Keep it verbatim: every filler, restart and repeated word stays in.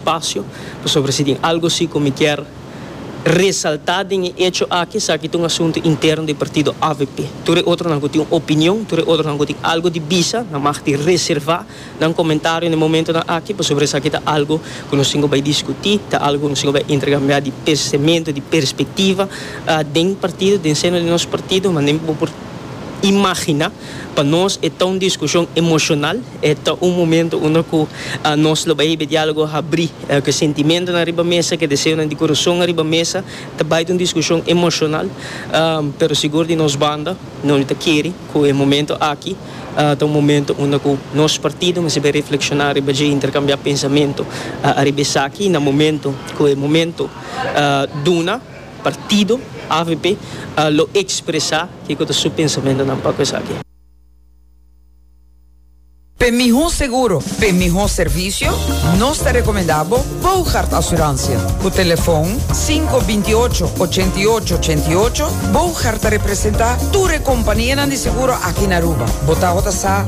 Espacio pasobra si tin algo si cu mi kier resalta den e hecho aki, esaki ta un asunto interno di partido A V P. Tur e otronan cu tin un opinion, tur e otronan cu tin algo di bisa, nan mag di reserva nan comentario na e momentonan aki, pasobra esaki ta algo cu nos tin cu bay discuti, ta algo cu nos tin cu bay intercambia di pensamento, di perspectiva uh, den partido, den seno di nos partido. Mas bo por imagina, pa nos e ta un discusion emocional, e ta un momento unda cu uh, nos lo bay dialogo habri, uh, cu sentimento ariba mesa, cu deseo di curason ariba mesa, ta bay un discusion emocional, um, pero sigur di nos banda, no ta kere cu e momento aki uh, ta un momento unda cu nos partido mester bay reflexiona ariba di intercambia pensamento uh, ariba esaki. Na momento cu e momento uh, duna, partido A V P uh, lo expresa kico ta su pensamento na pa cu esaki. Pa miho seguro, pa miho servicio, nos ta recomenda Bogart Assurantie. Cu telefon cinco dos ocho, ocho ocho ocho ocho. Bogart ta representa tur compania di seguro aki na Aruba. Bo ta sa.